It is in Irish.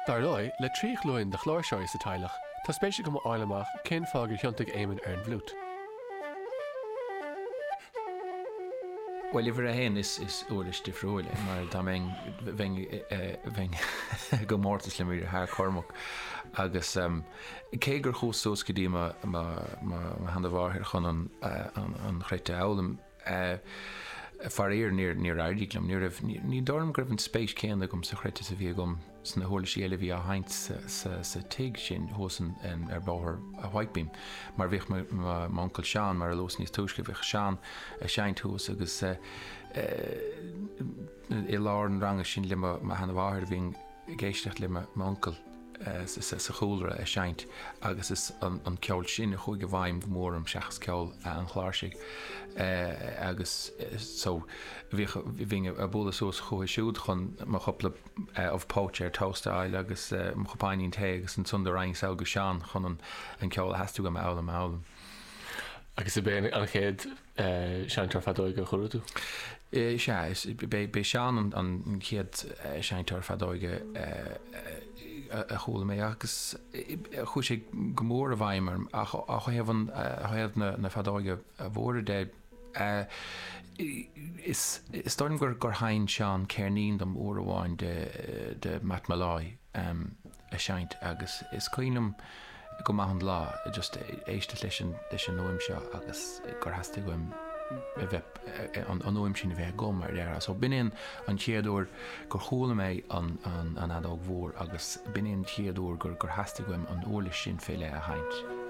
Dar ndóigh, le 3 ghlúin de chláirseoirí sa teaghlach, tá spéis agam a fháil amach cén fáth gur thiontaigh Éamonn ar an bhfliúit. Bhuel, uimhir a haon, is uirlis difriúil é, mar dá mbeinn, bheinn, bheinn i gcomórtas le mo dheartháir Cormac agus cé gur chuas suas go dtí mo, mo, mo sheana-mháthair chun an, an chruit a fhoghlaim, Faraor, níor éirigh liom. Ní raibh, ní dóigh liom go raibh an spéis céanna agam sa chruit is a bhí agam sna huirlisí eile a bhí á sheinnt sa tigh sin thuas ar bhóthar Whitebeam. Mar bhíodh m'uncail Seán, mar a luas níos túisce, bhíodh Seán ag seinnt thuas agus i lár an ranga sin le mo sheana-mháthair bhínn ag éisteacht le m'uncail sa chúlra ag seinnt agus is an ceol sin a chuaigh i bhfeidhm go mór orm seachas ceol an chláirsigh agus so bhíodh, bhínn ag bualadh suas chucu siúd chun mo chúpla ubh póite ar toast a fháil agus mo chupáinín tae agus ansan do raghainn sall go Seán chun an ceol a theastaigh uaim a fhoghlaim a fhoghlaim. Agus ab é an chéad seinnteoir feadóige a chuala tú? Sea, b'é Seán an chéad seinnteoir feadóige a chuala mé agus chuaigh sé go mór i bhfeidhm orm ach ó thaobh an, ó thaobh na feadóige mhóire de, is dóigh liom gur sheinn Seán ceirnín dom uair amháin de Matt Molloy. a seinnt agus is cuimhin liom go maith an lá just éisteacht leis an leis an fhuaim seo agus gur theastaigh uaim a bheith an an fhuaim sin a bheith agam mar a déarfá. So b'in é an an chéad uair gur chuala mé an an an fheadóg mhór agus b'in é an chéad uair gur gur theastaigh uaim an uirlis sin fé leith a sheinnt.